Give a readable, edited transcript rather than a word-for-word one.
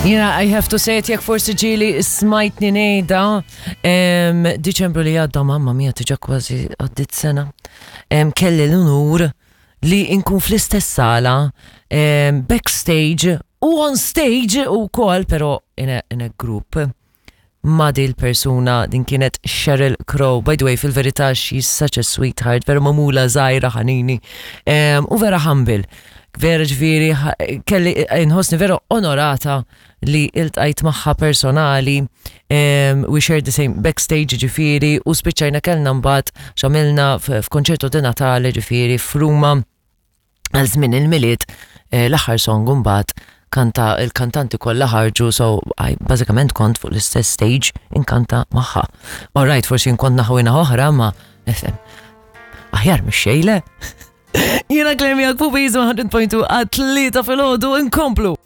Jena, I have to say it, jekk forsi ġili smajtni nejda, Diċembru li għadda mamma mia tiġa kważi għaddit sena, kelli l-unur li nkun fl-istess sala, backstage u on stage u kol, pero in a, in a group ma' dil persuna din kienet Sheryl Crow. By the way, fil-verità she's such a sweetheart, vera mamula żgħira ħanini u vera humble. Vera ġifieri kelli inħossni vera onorata li iltqajt magħha personali. We shared the same backstage ġifieri u spiċċajna kellna mbagħad x'għamilna f'konċerto di Natale ġifieri f'Ruma. Għal żmien il-Milied eh, l-aħħar song mbagħad kanta il-kantanti kollha ħarġu so I bażikament kont fuq l-istess stage inkanta magħha. All right, forsi nkont naħwina oħra ma nifhem. Aħjar mhix xejle. Jiena Claire miegħek fuq Bizu 100.2 għat-tlieta filgħodu inkomplu.